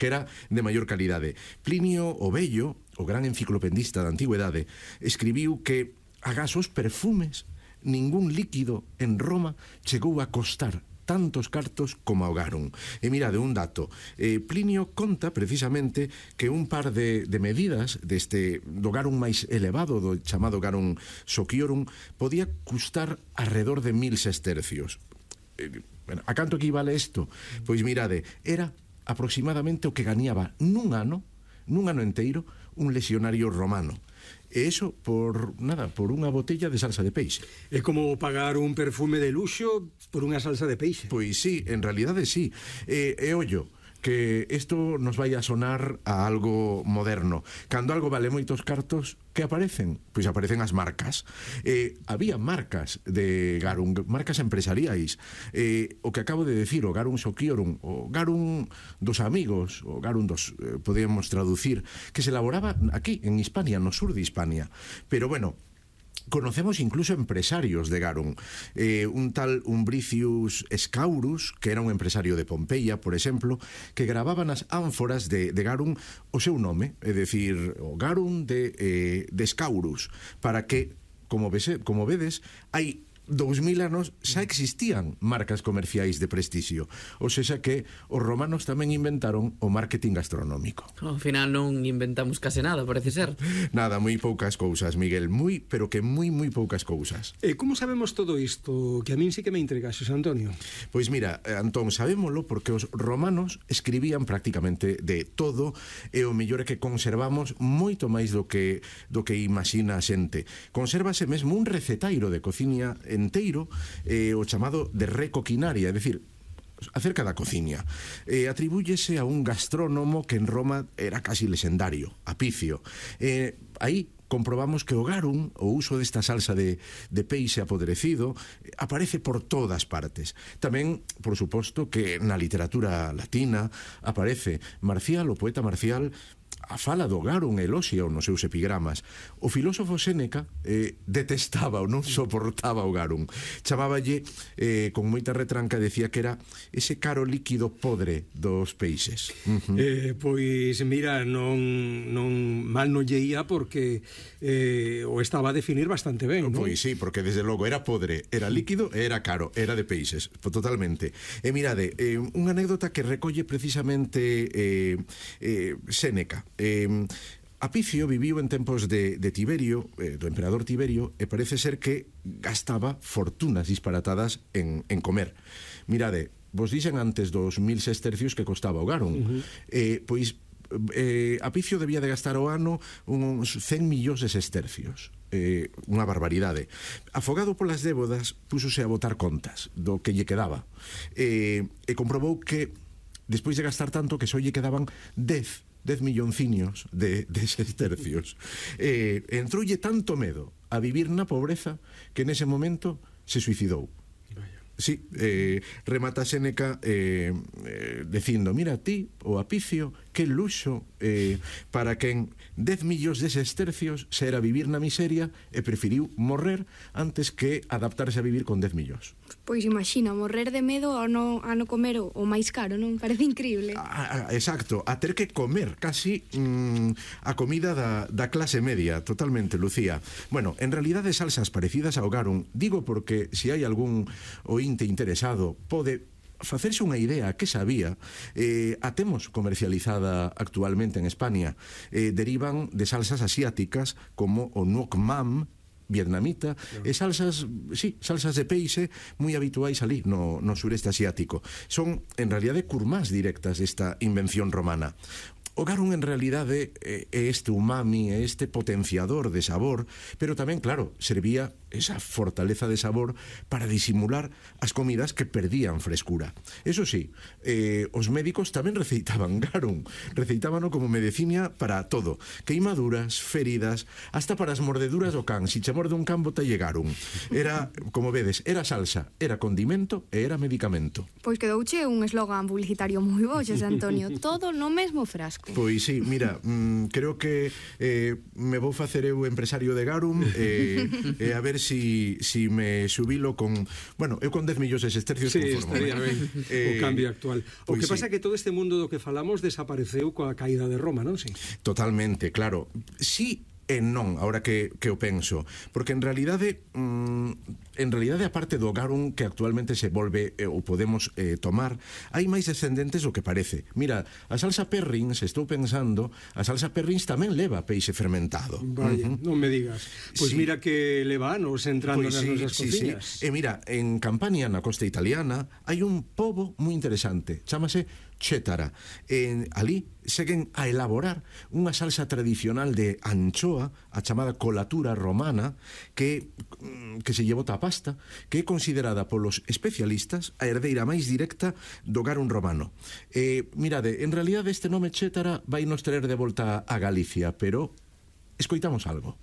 que era de maior calidade. Plinio o Vello, o gran enciclopedista da antigüedade, escribiu que agás os perfumes, ningún líquido en Roma chegou a costar tantos cartos como ao garum. E mirade, un dato. Plinio conta precisamente que un par de medidas do garum máis elevado, do chamado garum sociorum, podía custar alrededor de 1000 sestercios. A canto equivale isto? Pois mirade, era aproximadamente o que gañaba nun ano enteiro, un lexionario romano. E iso por unha botella de salsa de peixe. É como pagar un perfume de luxo por unha salsa de peixe. Pois sí, en realidade sí. E ollo, que isto nos vai a sonar a algo moderno. Cando algo vale moitos cartos, que aparecen? Pois aparecen as marcas. Había marcas de garum, marcas empresariais. O que acabo de decir, o garum sociorum, o garum dos amigos, o garum dos, podemos traducir, que se elaboraba aquí, en Hispania, no sur de Hispania. Pero bueno, conocemos incluso empresarios de garum. Un tal Umbricius Scaurus, que era un empresario de Pompeia, por exemplo, que grababa nas ánforas de garum o seu nome, é dicir, o garum de Scaurus, para que, como vedes, hai 2000 anos xa existían marcas comerciais de prestixio. Ou seja que os romanos tamén inventaron o marketing gastronómico. Ao final non inventamos case nada, parece ser. Nada, moi poucas cousas, Miguel, pero que moi poucas cousas. Como sabemos todo isto? Que a min sí que me intrigaxes, Antonio. Pois mira, Antón, sabémolo porque os romanos escribían prácticamente de todo, e o mellor é que conservamos moito máis do que imagina a xente. Consérvase mesmo un recetairo de cociña enteiro, o chamado de recoquinaria, é dicir, acerca da cociña. Atribúyese a un gastrónomo que en Roma era casi lexendario, Apicio. Aí comprobamos que o garum, o uso desta salsa de peixe apodrecido, aparece por todas partes. Tamén, por suposto, que na literatura latina aparece Marcial, o poeta Marcial, a fala do garum eloxia nos seus epigramas. O filósofo Séneca detestaba ou non soportaba o garum. Chamáballe, con moita retranca, decía que era ese caro líquido podre dos peixes. Pois mira, non mal non lle ia porque o estaba a definir bastante ben, non? Pois sí, porque desde logo era podre, era líquido e era caro, era de peixes, totalmente. E mirade, unha anécdota que recolle precisamente Séneca. Apicio viviu en tempos de Tiberio, do emperador Tiberio, e parece ser que gastaba fortunas disparatadas en comer. Mirade, vos dixen antes dos 1000 sestercios que costaba o garum. Pois Apicio debía de gastar o ano uns 100 millóns de sestercios. Unha barbaridade. Afogado polas débodas, púsose a botar contas do que lle quedaba, e comprobou que despois de gastar tanto que só lle quedaban 10 millonciños de sestercios. Entroulle tanto medo a vivir na pobreza que nese momento se suicidou. Sí, remata Séneca dicindo, mira ti, o Apicio, que luxo para quen 10 millóns de sestercios se era vivir na miseria e preferiu morrer antes que adaptarse a vivir con 10 millóns. Pois imagina, morrer de medo a no comer o máis caro, non? Parece increíble. Exacto, a ter que comer casi a comida da clase media, totalmente, Lucía. Bueno, en realidade salsas parecidas ao garum, digo porque se hai algún oínte interesado, pode facerse unha idea que sabía. A temos comercializada actualmente en España. Derivan de salsas asiáticas como o nuoc mam vietnamita, e salsas de peixe moi habituais ali no sureste asiático. Son, en realidade, curmás directas desta invención romana. O garum en realidade é este umami, é este potenciador de sabor, pero tamén, claro, servía esa fortaleza de sabor para disimular as comidas que perdían frescura. Eso sí, os médicos tamén receitaban garum, receitábano como medicina para todo, queimaduras, feridas, hasta para as mordeduras do can. Si che morde un can, botalle garum. Era, como vedes, era salsa, era condimento e era medicamento. Pois quedouche un eslogan publicitario moi bo, Xosé Antonio, todo no mesmo frasco. Pois sí, mira, creo que me vou facer eu empresario de garum, e a ver si me xubilo con... Bueno, eu con 10 millóns de sestercios Sí, conformo. estaría ben o cambio actual. O pois que pasa é sí. que todo este mundo do que falamos desapareceu coa caída de Roma, non? Sí. Totalmente, claro. Sí e non, ahora que o penso, porque en realidade aparte do garum que actualmente se volve ou podemos tomar, hai máis descendentes do que parece. Mira, a salsa Perrins, estou pensando, a salsa Perrins tamén leva peixe fermentado. Vaya, non me digas. Pois Sí. mira que leva anos entrando Pois nas sí, nosas sí, cociñas. sí. E mira, en Campania, na costa italiana, hai un pobo moi interesante, chámase Chétara. Ali seguen a elaborar unha salsa tradicional de anchoa, a chamada colatura romana, que se lle bota a pasta, que é considerada polos especialistas a herdeira máis directa do garum romano. Mirade, en realidad este nome Chétara vai nos traer de volta a Galicia, pero escoitamos algo.